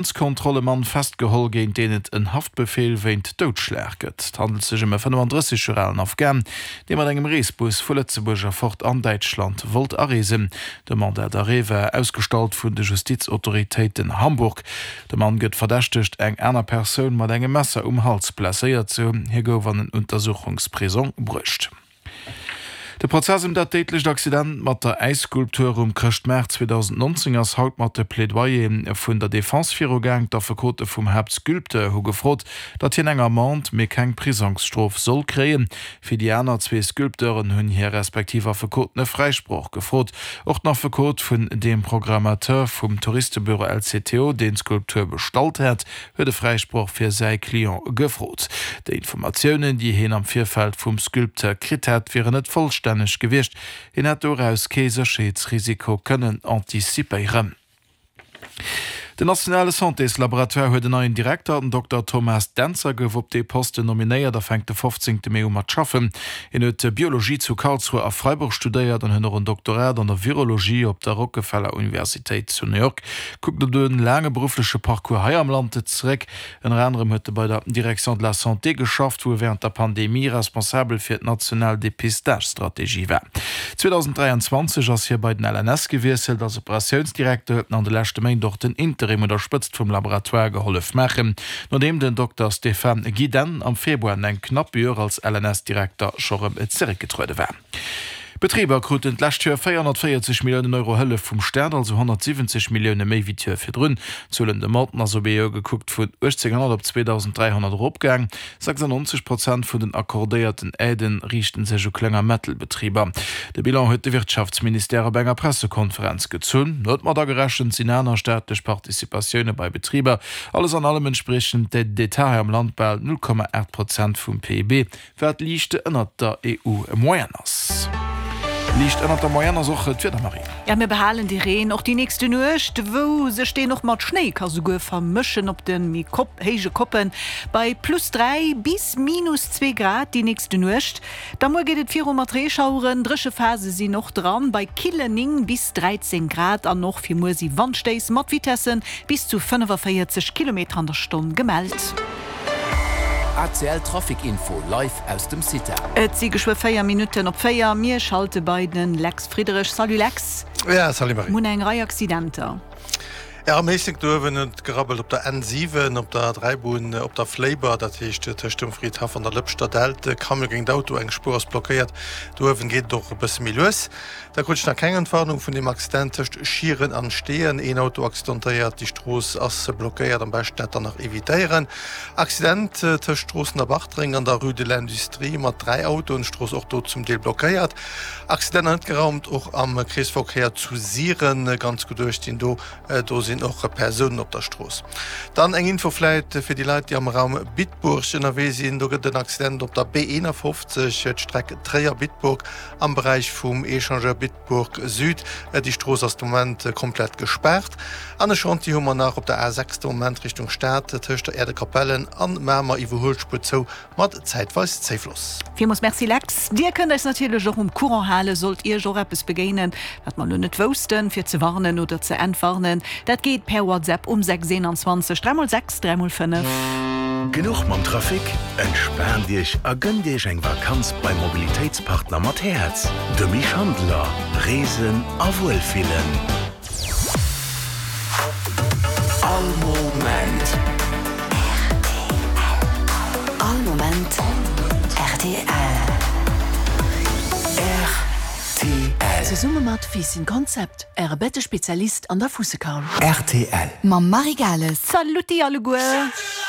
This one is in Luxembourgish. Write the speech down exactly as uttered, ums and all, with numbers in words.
Grenzkontroll e Mann festgeholl, géint deen et en Haftbefeel wéint Doudschlag gëtt. Et handelt sech ëm e fënnefandrësseg Joer alen Afghan, dee mat engem Reesbus vu Lëtzebuerg erfort an Däitschland wollt areesen. De Mandat d'arrêt war ausgestallt vun de Justizautoritéiten Hamburg. De Mann gëtt verdächtegt, eng aner Persoun mat engem Messer um Hals blesséiert ze hunn. Hie gouf an en Untersuchungsprisong bruecht. De Prozess ëm dat déidlecht Accident mat der Äisskulptur um Chrëschtmaart zweedausendnonzéng ass haut mat de Plaidoyere vun der Defense virugaang. D'Affekote vum Haaptsculpteur hu gefrot, datt hien eng Amende, mee keng Prisongsstrof soll kréien. Fir déi aner zwee Sculpteuren hunn hir respektiv Affekoten e Fräisproch gefrot. Och den Affekot vun deem Programmateur vum Touristebüro L C T O, deen d'Skulptur bestallt hat, huet e Fräisproch fir säi Client gefrot. Déi Informatiounen, déi hien am Virfeld vum Sculpteur kritt hätt, wieren net vollstänneg gewiescht. Hien hätt doraus kee Sécherheetsrisiko kënnen anticipéieren. Den nationale Santéslaboratoire huet en neien Direkter. Den Dokter Thomas Dentzer gouf op dee Posten nominéiert a fänkt de fofzéngte Mee u mat schaffen. Hien huet Biologie zu Karlsruhe a Freiburg studéiert an huet och en Doktorat an der Virologie op der Rockefeller Universitéit zu New York. Kuckt op de laange beruffleche Parcours hei am Land zeréck. Ënner anerem huet e bei der Direction de la Santé geschafft, wou e wärend der Pandemie responsabel fir d'national Depistage-Strategie war. zweedausenddräianzwanzeg ass hie bei den L N S gewiesselt. Als Operatiounsdirekter huet en an de leschte Méint och den Interim un der Spëtzt vum Laboratoire gehollef maachen, nodeem den Dokter Stéphane Gidenne am Februar no engem knappe Joer als L N S-Direkter scho rëm zeréckgetruede war. Betriber kruten d'lescht Joer véierhonnertvéierzeg Milliounen Euro Hëllef vum Staat, also honnertsiwwenzeg Millioune méi wéi d'Joer virdrun. D'Zuel un Demanden ass op ee Joer gekuckt vun uechtzénghonnert op zweedausend dräihonnert eropgaang. Sechsannonzeg Prozent vun den accordéierten Aiden riichte sech u Kleng a Mëttelbetriber. De Bilan huet de Wirtschaftsministère op enger Pressekonferenz gezunn. Net mat agerechent sinn aner staatlech Participatioune bei Betriber. Alles an allem entspriechen d'Aides d'État hei am Land bal null Komma aacht Prozent vum P I B, wat liicht ënnert der E U-Moyenne ass. Liicht ënnert der Moyenne ass och d'Wieder, Marie. Ja, mir behalen de Reen och déi nächste Nuecht, wou sech deen och mat Schnéi ka souguer vermëschen op de méi héije Koppen. Bei plus dräi bis minus zwee Grad déi nächste Nuecht. Da muer geet et viru mat Reeschaueren, dréche Phase sinn och dran, bei killen néng bis dräizéng Grad. An och fir muer si Wandstéiss mat Vitesse bis zu fënnefaféierzeg Kilometer an der Stonn gemellt. A C L Trafic Info live aus dem CITA. Et si geschwë véier Minutten op véier. Mir schalte bei den Lex Friedrich. Salut Lex. Ja, salut Marie. Mir hunn eng Rei Accidenter. Ja, am Éislek do uewen huet et gerabbelt op der N siwen, op der Dräibunn op der Fléiber, dat heescht tëscht dem Fridhaff an der Lëpschter Dällt. Camion géint Auto, eng Spuer ass blockéiert. Do uewen geet et och e bësse méi lues. Da krut ech nach keng Entwarnung vun deem Accident tëscht Schieren an Steeën. Een Auto accidentéiert, déi Strooss ass blockéiert, am beschten dat dann nach evitéieren. Accident tëscht Stroossen a Bartreng an der Rue de l'Industrie mat dräi Autoen, Strooss och do zum Deel blockéiert. Accident net geraumt och am Kreesverkéier zu Siren, ganz gutt uecht sinn do, do sinn och Persounen op der Strooss. Dann eng Info vläit fir déi Leit, déi am Raum Bitburg ënnerwee sinn, do gëtt et en Accident op der B eenafofzeg, d'Streck Tréier-Bitburg am Beräich vum Echangeur Bitburg Süd. Déi Strooss ass de Moment komplett gespaart. An e Chantier hu mer nach op der A sechs de Moment Richtung Stad, tëscht der Aire de Capellen an Mamer, Iwwerhuelspuer zou mat zäitweis Zéifloss. Villmools Merci Lex. Dir kënnt eis natierlech och um Courant halen, sollt Iech och eppes begéinen, wat mer elo net woussten, fir ze warnen oder ze entwarnen. Dat geet per WhatsApp um sechs eenanzwanzeg dräi mol sechs dräi mol fënnef. Genuch mam Trafic? Entspaant Iech a gënnt Iech eng Vakanz beim Mobilitéitspartner mat Häerz, dem Misch Handler. Reesen a Wuelfillen. All Moment. All Moment R T L. R T L. Zesumme mat Fiissen Konzept, Äre Bettespezialist an der Fussekarl. R T L. Mam Marie Gales. Saluti alleguer.